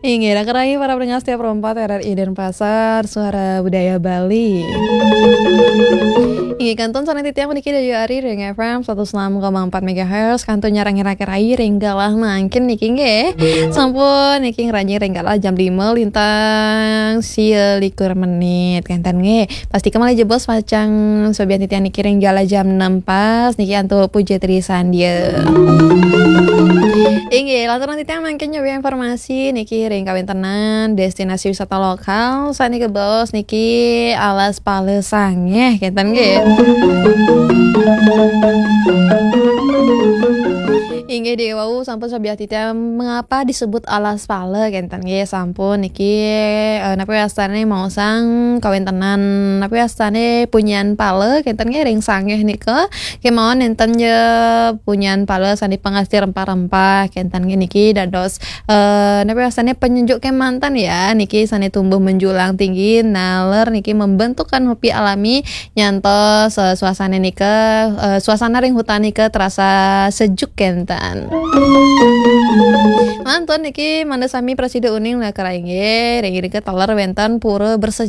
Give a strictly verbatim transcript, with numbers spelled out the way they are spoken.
Inggih, dah kerangi para pendengar setia Pro empat R R I Denpasar, Suara Budaya Bali. Inggih, kantun sané titiang puniki Dayu Ari ring F M satus enam koma empat megahertz, kantun nyarengin ring galah mangkin niki nggih. Sampun niki ngranjing ring galah jam lima lintang sia likur menit, kénten nggih. Pastika malih jebos pacang sobian titiang niki ring galah jam enam pas niki antuk Puja Tri Sandia. Inggih, lanturang titiang mangkin nyobi informasi niki ring kawéntenan destinasi wisata lokal sané kabaos niki Alas Pala Sangéh, kénten nggih. Inggih, di wau sampun sobian titiang mengapa disebut Alas Pala, kénten nggih, sampun niki, eh, napi wastané maosang kawéntenan, napi wastané punyan pala, kénten nggih, ring sangéh nika. Kémaon nénten ja punyan pala sané pangastih rempah-rempah, kénten nggih, niki dados, eh, napi wastané penyejuk kémanten ya, niki sané tumbuh menjulang tinggi, naler niki membentuk kanopi alami nyantos, eh, suasana nika, eh, suasana ring hutan nika terasa sejuk kénten. Mantun niki mangda sami prasida uning lakar inggih, ring irika taler wénten pura bersejarah